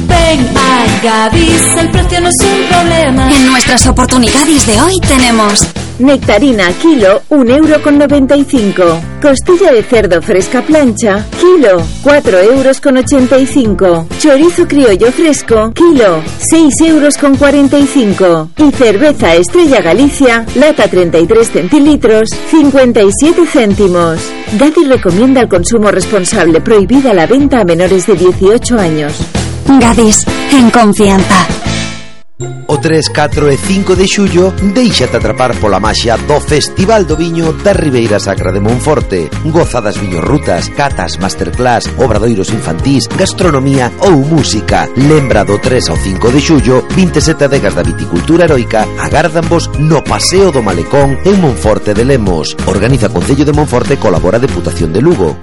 Ven a Gadis, el precio no es un problema. En nuestras oportunidades de hoy tenemos nectarina kilo, 1,95 €. Costilla de cerdo fresca plancha, kilo, 4,85 €. Chorizo criollo fresco, kilo, 6,45 €. Y cerveza Estrella Galicia, lata 33 centilitros, 57 céntimos. Gadis recomienda el consumo responsable, prohibida la venta a menores de 18 años. Gadis, en confianza. O 3, 4 e 5 de xullo déixate atrapar pola maxia do Festival do Viño da Ribeira Sacra de Monforte. Goza das viñorrutas, catas, masterclass, obradoiros infantís, gastronomía ou música. Lembra do 3 ao 5 de xullo, 27 adegas da viticultura heroica agárdanvos no Paseo do Malecón en Monforte de Lemos. Organiza Concello de Monforte, colabora Deputación de Lugo.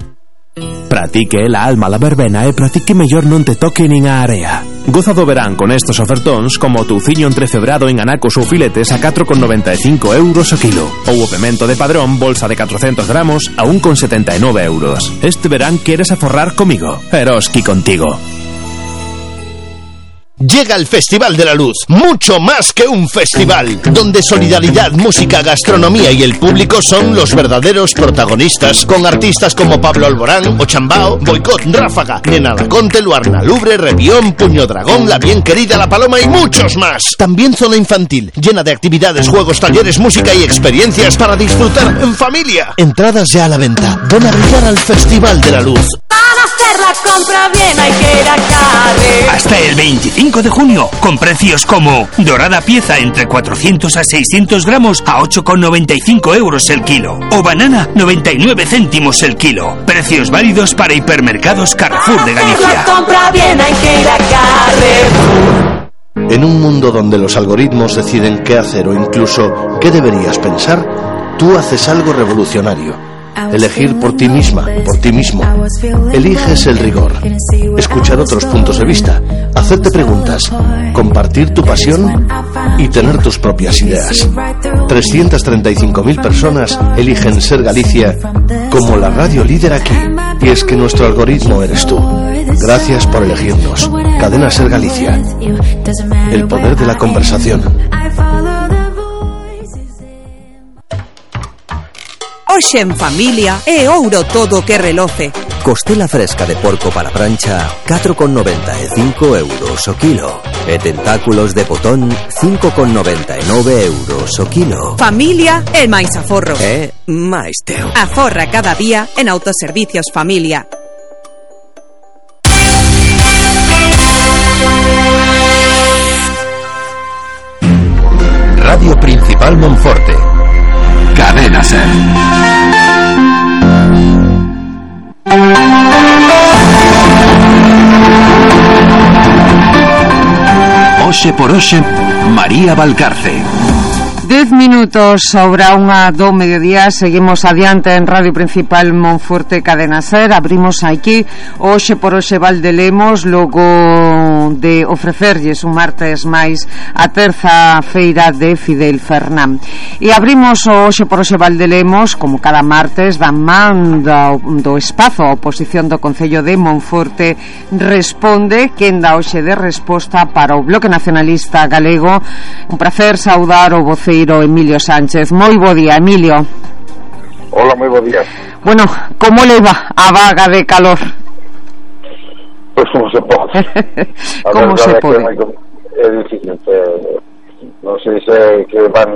Pratique la alma la verbena e pratique mellor non te toque nin a area. Goza do verán con estos ofertóns como o touciño entrecebrado en anacos ou filetes a 4,95 € o kilo, ou o pemento de Padrón bolsa de 400 gramos a 1,79 €. Este verán queres aforrar comigo, Eroski contigo. Llega el Festival de la Luz, mucho más que un festival, donde solidaridad, música, gastronomía y el público son los verdaderos protagonistas, con artistas como Pablo Alborán, Ochambao, Boicot, Ráfaga, Nena Laconte, Luarna Lubre, Revión, Puño Dragón, La Bien Querida, La Paloma y muchos más. También zona infantil, llena de actividades, juegos, talleres, música y experiencias para disfrutar en familia. Entradas ya a la venta, ven a brillar al Festival de la Luz. Para hacer la compra bien hay que ir a Carre. Hasta el 25 de junio, con precios como dorada pieza entre 400 a 600 gramos a 8,95 € el kilo, o banana 99 céntimos el kilo. Precios válidos para hipermercados Carrefour de Galicia. La compra bien hay que ir a Carrefour. En un mundo donde los algoritmos deciden qué hacer o incluso qué deberías pensar, tú haces algo revolucionario. Elegir por ti misma, por ti mismo. Eliges el rigor. Escuchar otros puntos de vista. Hacerte preguntas. Compartir tu pasión y tener tus propias ideas. 335.000 personas eligen Ser Galicia como la radio líder aquí. Y es que nuestro algoritmo eres tú. Gracias por elegirnos. Cadena Ser Galicia. El poder de la conversación. Hoxe en familia é ouro todo que reloce. Costela fresca de porco para prancha, 4,95 € o kilo. E tentáculos de botón, 5,99 € o kilo. Familia é máis aforro. É máis teu. Aforra cada día en Autoservicios Familia. Radio Principal Monforte. Cadena SER. Hoxe por hoxe, María Valcarce. 10 minutos sobre a unha do mediodía. Seguimos adiante en Radio Principal Monforte, Cadena SER. Abrimos aquí Hoxe por hoxe Valdelemos. Logo de ofrecerlles un martes máis a terza feira de Fidel Fernán. E abrimos hoxe por hoxe Valdelemos, como cada martes, da man do espazo a oposición do Concello de Monforte responde, quen dá hoxe de resposta para o Bloque Nacionalista Galego. Un placer saudar o voceiro Emilio Sánchez. Moi bo día, Emilio. Hola, moi bo día. Bueno, como le va a vaga de calor? Pois como se pode. Como se pode? É difícil, non sei se que van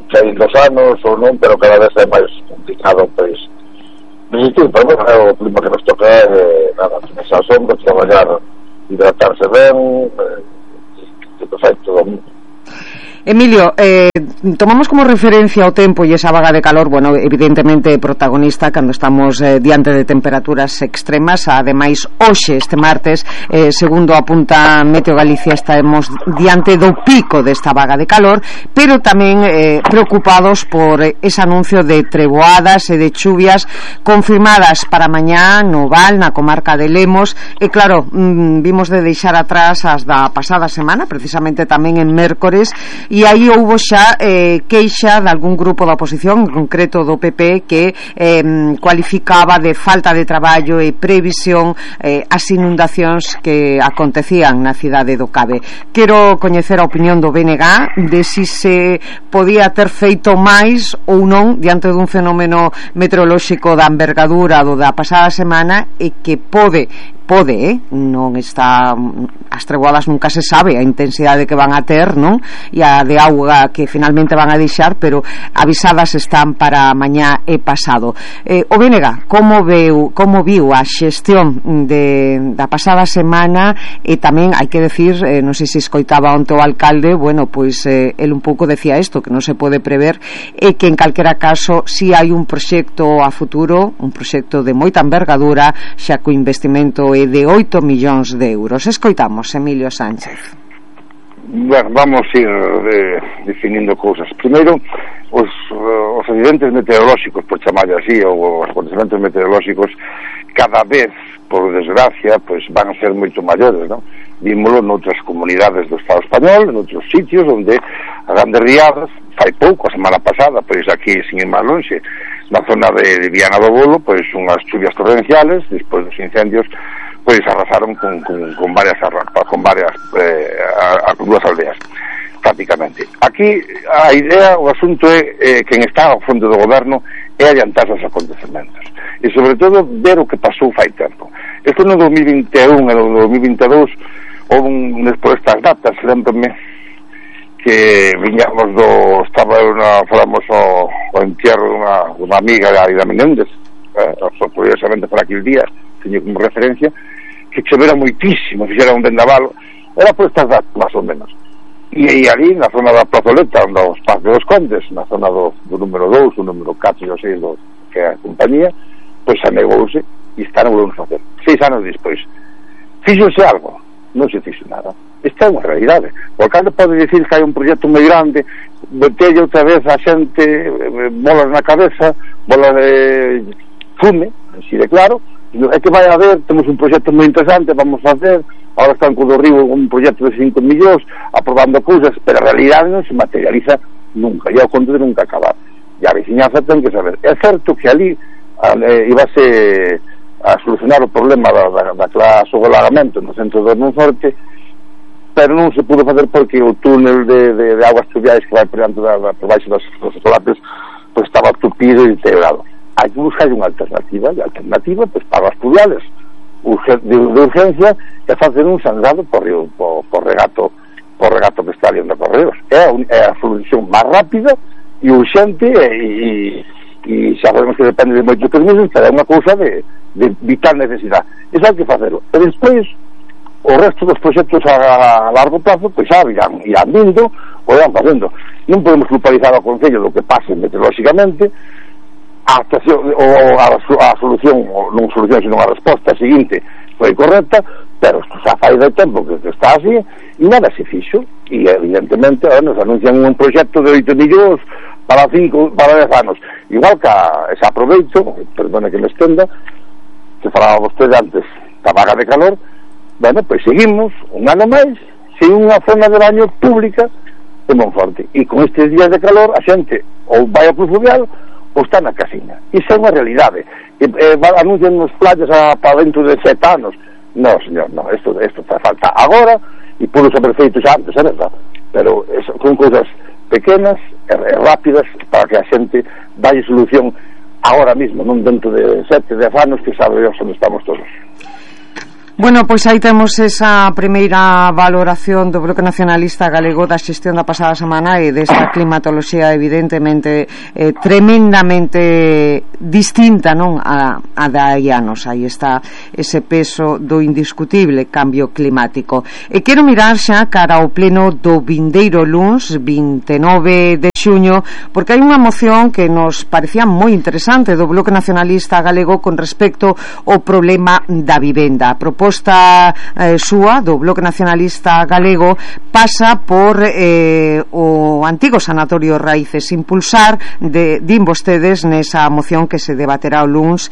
caindo os anos ou non, pero cada vez é máis complicado, pois difícil, pero bueno, é o clima que nos toca, nada, esa sombra, traballar, hidratarse ben, perfecto, todo mundo. Emilio, tomamos como referencia o tempo e esa vaga de calor, bueno, evidentemente protagonista cando estamos diante de temperaturas extremas. Ademais, hoxe, este martes, segundo apunta Meteo Galicia, estaremos diante do pico desta vaga de calor, pero tamén preocupados por ese anuncio de treboadas e de chuvias confirmadas para mañá no Val, na comarca de Lemos, e claro, vimos de deixar atrás as da pasada semana, precisamente tamén en mércores, e aí houbo xa queixa de algún grupo da oposición, en concreto do PP, que cualificaba de falta de traballo e previsión as inundacións que acontecían na cidade do Cabe. Quero coñecer a opinión do BNG de si se podía ter feito máis ou non diante dun fenómeno meteorolóxico da envergadura do da pasada semana e que pode, non está, as treboadas nunca se sabe a intensidade que van a ter, non? E a de auga que finalmente van a deixar, pero avisadas están para mañá e pasado. O BNG, como viu a xestión da pasada semana? E tamén hai que decir, non sei se escoitaba onte o alcalde, bueno, pois el un pouco decía isto, que non se pode prever, e que en calquera caso si hai un proxecto a futuro, un proxecto de moita envergadura, xa co investimento de 8 millóns de euros. Escoitamos Emilio Sánchez. Bueno, vamos a ir definindo cousas. Primeiro, os accidentes meteorolóxicos, por chamarle así, ou os acontecementos meteorolóxicos, cada vez, por desgracia, pues van a ser moito maiores, non? Vímolo noutras comunidades do Estado español, en outros sitios onde a grandes riadas, fai pouco, a semana pasada, pois aquí, sin ir máis lonxe, na zona de Viana do Bolo, pois unhas chuvias torrenciales, despois dos incendios, pois arrasaron con varias dúas aldeas prácticamente. Aquí a idea, o asunto é quen está ao fondo do goberno é adiantar os acontecementos e sobre todo ver o que pasou fai tempo. Isto no 2021 e no 2022 houve por estas datas, lembrame que viñamos falamos o entierro dunha amiga de Aida Menéndez, curiosamente por aquel día teño como referencia, que chovera moitísimo, fixera un vendavalo, era por estas datas, máis ou menos. E ali, na zona da plazoleta, onde os Parques dos Condes, na zona do número 2, o número 4 e o 6, que é a compañía, pois anegouse e está no volvemos facer. 6 anos despois. Fíxose algo? Non se fixo nada. Esta é unha realidade. O alcalde pode dicir que hai un proxecto moi grande, metelle outra vez a xente bolas na cabeza, bolas de fume, así de claro, é que vai haber, temos un proxecto moi interesante, vamos facer, ahora están co do Río un proxecto de 5 millóns, aprobando cousas, pero a realidade non se materializa nunca, e ao conto de nunca acabar. E a veciñanza ten que saber. É certo que ali ibase a solucionar o problema da clase do lagamento no centro do Monforte, pero non se pudo facer porque o túnel de aguas pluviais que vai por baixo dos solapes pues estaba tupido e deteriorado. Hai que buscar unha alternativa, e a alternativa pues para as pluviales de urgencia que facer un sangrado por regato que está ali onde correos. É a solución máis rápida e urxente e xa sabemos que depende de moitos permisos, pero é unha cousa de vital necesidade. Iso hai que facelo. E despois o resto dos proxectos a largo plazo pois xa irán vindo ou irán facendo. Non podemos culpabilizar ao Concello do que pase meteorolóxicamente. A solución, non solución, sino a resposta seguinte foi correcta, pero xa fai de tempo que está así e nada se fixo, e evidentemente nos anuncian un proxecto de 8 millóns para 10 anos, igual que se aproveito, perdone que me estenda, que falaba vostede antes da vaga de calor, Bueno, pois seguimos un ano máis sen unha zona de baño pública de Monforte, e con estes días de calor a xente ou vai ao Club Fluvial ou está na casiña. Iso é unha realidade. Anuncian nos playas para dentro de 7 anos. No, señor, no, isto falta agora, e pudo ser feito xa antes, é verdad, pero son cousas pequenas e rápidas para que a xente dalle solución agora mismo, non dentro de 7, 10 anos, que sabe Dios onde estamos todos. Bueno, pois aí temos esa primeira valoración do Bloque Nacionalista Galego da xestión da pasada semana e desta climatoloxía evidentemente tremendamente distinta, non, a da hai anos. Aí está ese peso do indiscutible cambio climático. E quero mirar xa cara ao pleno do vindeiro luns 29 de xuño, porque hai unha moción que nos parecía moi interesante do Bloque Nacionalista Galego con respecto ao problema da vivenda. A proposta súa do Bloque Nacionalista Galego pasa por o antigo Sanatorio Raíces, impulsar din vostedes nesa moción que se debaterá o luns,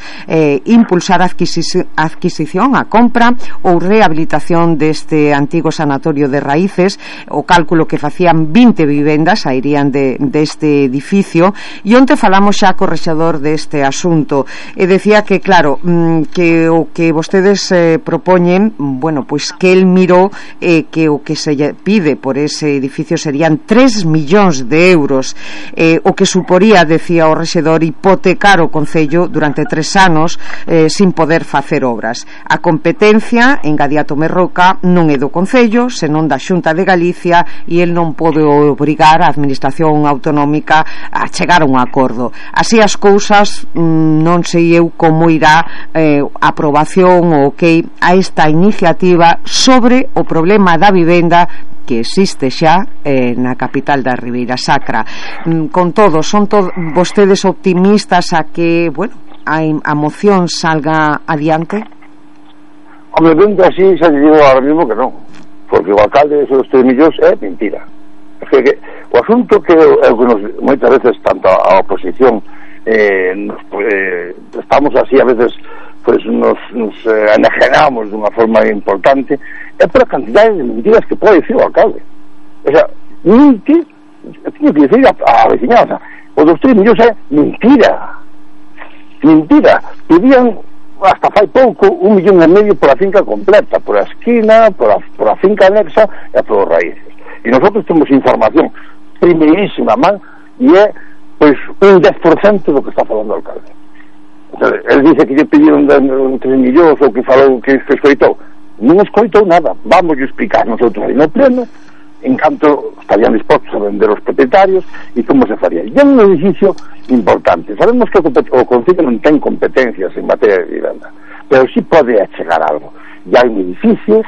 impulsar a adquisición, a compra ou rehabilitación deste antigo Sanatorio de Raíces. O cálculo que facían 20 vivendas sairían deste edificio, e onte falamos xa co rexedor deste asunto e decía que claro, que o que vostedes propoñen, bueno, pois que el mirou que o que se pide por ese edificio serían 3 millóns de euros, o que suporía, decía o rexedor, hipotecar o Concello durante 3 anos sin poder facer obras. A competencia, engadía Tomé Roca, non é do Concello, senón da Xunta de Galicia, e el non pode obrigar a Administración Autonómica a chegar a un acordo. Así as cousas, non sei eu como irá a aprobación ou que a esta iniciativa sobre o problema da vivenda que existe xa na capital da Ribeira Sacra. Con todo, son vostedes optimistas a que, bueno, a moción salga adiante? Hombre, vendo así, xa te digo ahora mismo que non, porque o alcalde de esos 3 millóns é mentira. É que o asunto que moitas veces tanto a oposición estamos así a veces, pues nos enajenamos dunha forma importante, é por a cantidade de mentiras que pode dicir o alcalde. O sea, mentir, teño que dicir a veciñanza, o dos 3 millóns é mentira. Pedían hasta fai pouco 1,5 millón por a finca completa, por a esquina, por a finca anexa e por os raíces. E nosotros temos información primeirísima man, e é pois un 10% do que está falando o alcalde. Ele dice que lle pediron 3 millóns ou que falou que escoitou. Non escoitou nada. Vamos a explicar nosotros aí no pleno en canto estarían dispostos a vender os propietarios e como se faría. E é un edificio importante. Sabemos que o Concello non ten competencias en materia de vivenda, pero sí pode achegar algo. E hai un edificio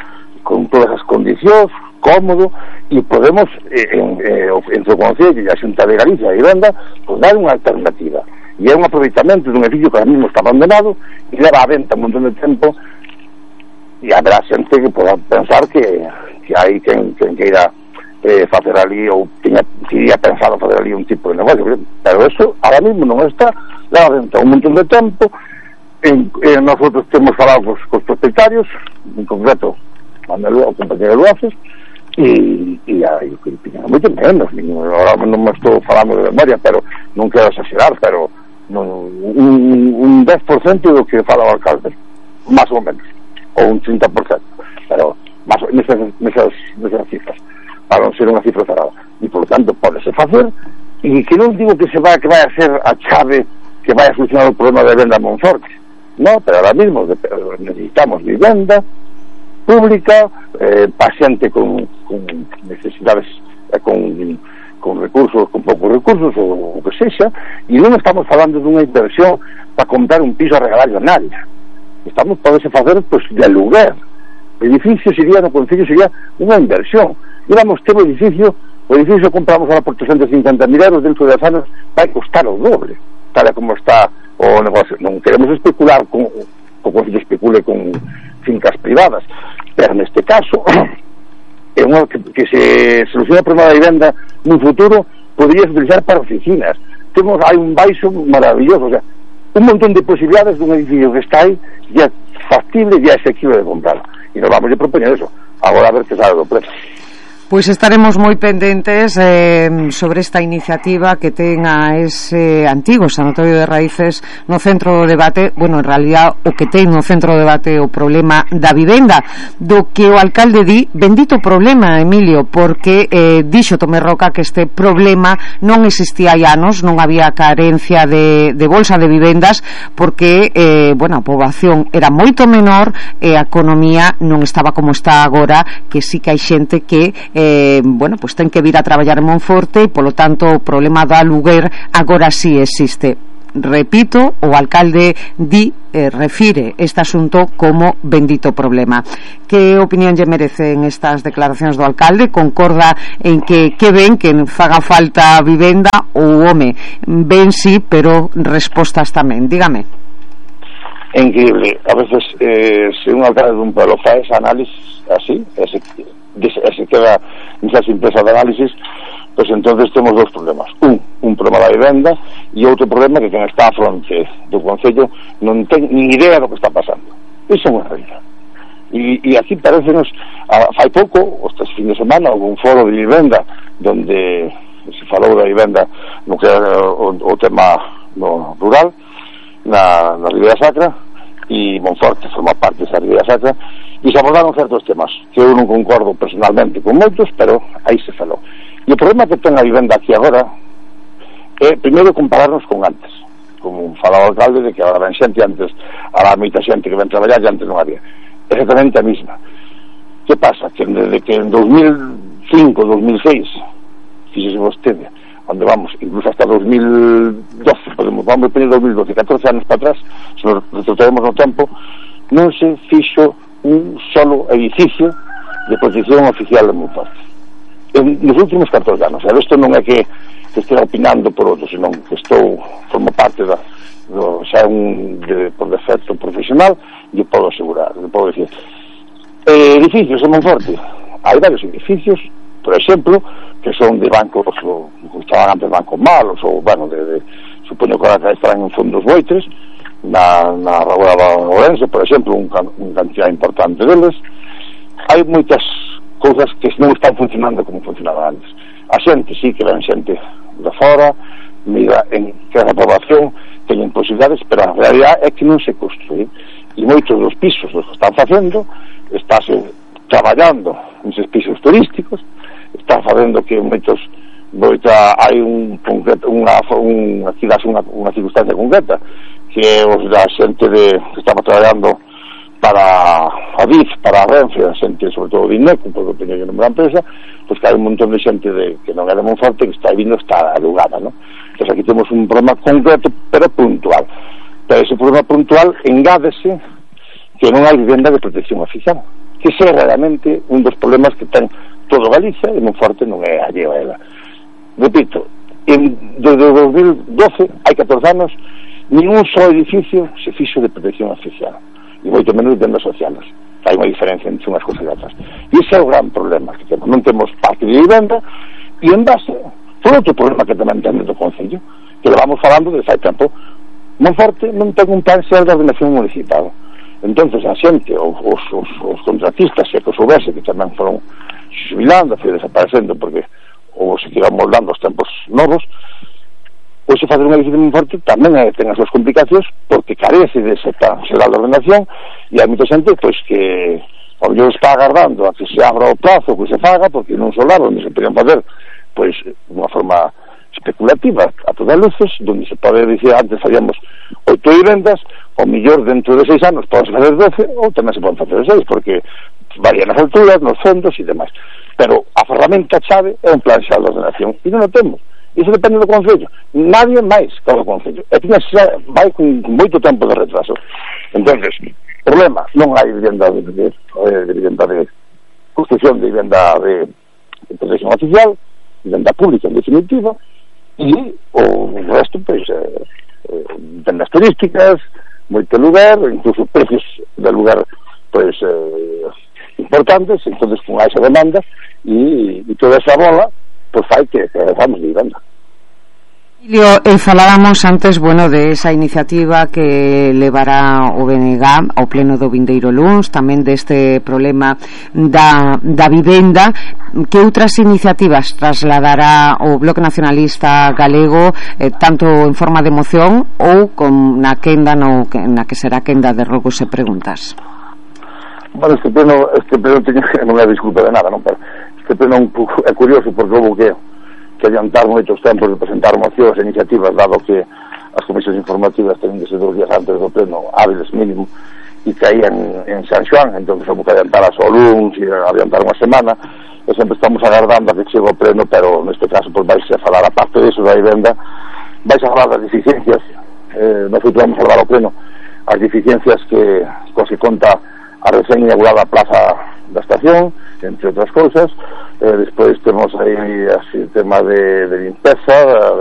con todas as condicións, cómodo, e podemos entre o Concello e a Xunta de Galicia a vivenda, pues dar unha alternativa. E é un aproveitamento dun edificio que ahora mismo está abandonado e leva a venta un montón de tempo, e habrá xente que poda pensar que hai quen queira facer ali ou tiña pensado facer ali un tipo de negocio, pero eso ahora mismo non está, leva a venta un montón de tempo. Nosotros temos falado cos propietarios, en concreto o compañero Luaces, e hai que tiñan moito menos, agora non me estou falando de memoria, pero non quero exagerar, pero un 10% do que fala o alcalde, máis ou menos, ou un 30%, pero nesas cifras, para non ser unha cifra cerrada, e por tanto podese facer, e que non digo que vai a ser a chave que vai a solucionar o problema de venda en Monforte, no, pero ahora mismo necesitamos vivenda pública, paciente con necesidades, con recursos, con poucos recursos ou o que sexa, e non estamos falando dunha inversión para comprar un piso a regalar a nadie. Estamos podese facer pues, de aluguer. O edificio sería, no Concello sería unha inversión. Íbamos ter o edificio compramos ahora por 350.000 euros, dentro de 10 anos vai costar o doble, tal como está o negocio. Non queremos especular o Concello especule con fincas privadas, pero neste caso é unha que se soluciona o problema da vivenda nun futuro podría utilizar para oficinas. Hai un baixo maravilloso, o sea, un montón de posibilidades dun edificio que está aí, ya factible, ya asequible de comprar. e nos vamos a propoñer eso. Agora a ver que sale do pleno. Pois estaremos moi pendentes sobre esta iniciativa que ten a ese antigo Sanatorio de Raíces no centro do debate. Bueno, en realidad o que ten no centro do debate o problema da vivenda, do que o alcalde di, bendito problema, Emilio, porque dixo Tomé Roca que este problema non existía hai anos, non había carencia de bolsa de vivendas, porque bueno, a poboación era moito menor e a economía non estaba como está agora, que sí que hai xente que bueno, pues ten que vir a traballar en Monforte e polo tanto o problema do aluguer agora sí existe. Repito, o alcalde refire este asunto como bendito problema. Que opinión lle merecen estas declaracións do alcalde? Concorda en que ven que faga falta vivenda ou home? Ben sí, pero respostas tamén. Dígame. É increíble. A veces se un alcalde dun pueblo faz análisis así, se queda nesas empresas de análisis, pues entonces temos dos problemas. Un problema da vivenda e outro problema que quen está a fronte do Concello non ten ni idea do que está pasando. Iso é unha realidad. E aquí parecenos, fai pouco, este fin de semana, houve un foro de vivenda donde se falou da vivenda no que era o tema no rural na Ribeira Sacra, e Monforte forma parte desa Ribeira Sacra, e se abordaron certos temas que eu non concordo personalmente con moitos, pero aí se falou. E o problema que ten a vivenda aquí agora é primeiro compararnos con antes, como falaba o alcalde de que agora ven xente, antes a moita xente que ven traballar e antes non había, exactamente a mesma. Que pasa? Que desde que en 2005, 2006 fíxese vostede onde vamos, incluso hasta 2012 vamos a poner 2012, 14 anos para atrás, se nos retrotraemos no tempo, non se fixo un solo edificio de protección oficial de Monforte nos últimos 14 anos. Isto non é que estea opinando por outro, senón que formo parte xa por defecto profesional, e podo asegurar, podo dicir edificios en Monforte, hai varios edificios, por exemplo, que son de bancos, ou estaban antes bancos malos, ou, bueno, supoño que ahora estarán en fondos boitres, na Ragua da Ourense, por exemplo, un cantidad importante deles. Hai moitas cousas que non están funcionando como funcionaban antes. A xente, sí, que ven xente de fora, mira en que a poboación teñen posibilidades, pero a realidad é que non se construí. E moitos dos pisos que están facendo, estáse traballando neses pisos turísticos, está facendo que hai aquí das unha circunstancia concreta, que os da xente que estaba traballando para a DIF, para a Renfe, a xente sobre todo de INECO, porque teño que nombrar a empresa, pois que hai un montón de xente que non é de Monforte, que está vindo, está alugada, non? Entón aquí temos un problema concreto pero puntual, pero ese problema puntual engádese que non hai vivenda de protección oficial, que ese é realmente un dos problemas que ten todo Galicia, e Monforte non é alleo a ela. Repito, desde 2012, hai 14 anos, ningún só edificio se fixo de protección oficial, e moito menos de vendas sociales. Hai unha diferencia entre unhas cousas e outras. E ese é o gran problema que temos. Non temos parque de vivenda, e en base por outro problema que tamén ten do Concello, que lo vamos falando desde fai tempo. Monforte non ten un plan xeral de ordenación municipal. Entonces a xente, os contratistas, se que soubese, que tamén foron xubilando, desaparecendo, porque ou se quedan moldando os tempos novos, ou se facer un edificio de Monforte tamén ten as súas complicacións, porque carece de ese plan xeral de ordenación, e hai moita xente pois que ao mellor está agardando a que se abra o plazo, que se faga, porque non solar onde se podían facer pois unha forma especulativa a todas luces, donde se pode dicir antes faríamos 8 vivendas, ou mellor dentro de 6 anos podemos facer 12, ou tamén se poden facer 6, porque varían as alturas, nos fondos e demais. Pero a ferramenta chave é un plan xeral de ordenación, e non o temos. Iso depende do Concello, nadie máis que o Concello, e vai con moito tempo de retraso. Entonces, problema, non hai vivenda de construcción de vivenda de protección oficial, vivenda pública en definitiva, e o resto, pois, vendas turísticas, moito lugar, incluso precios de lugar, pois, importantes. Entonces, con esa demanda e toda esa bola, pois fai que vamos de vivenda. Falábamos antes, de esa iniciativa que levará o BNG ao pleno do vindeiro luns, tamén deste problema da vivenda. Que outras iniciativas trasladará o Bloque Nacionalista Galego, tanto en forma de moción ou na quenda na que será quenda de rogos e preguntas? Bueno, este pleno non é disculpa de nada, non? Pero este pleno é curioso porque houve que adiantar moitos tempos de presentar mocións e iniciativas, dado que as comisións informativas tenían que ser 2 días antes do pleno, hábiles mínimo, e caían en San Xoán, entón houve que adiantar as luns e adiantar unha semana, e sempre estamos agardando a que chegue o pleno, pero neste caso vais a falar, aparte disso da vivenda, vais a falar das deficiencias, nós vamos a falar ao pleno as deficiencias que conta a recén inaugurada Plaza da Estación, entre outras cousas. Despois temos aí o tema de limpeza, de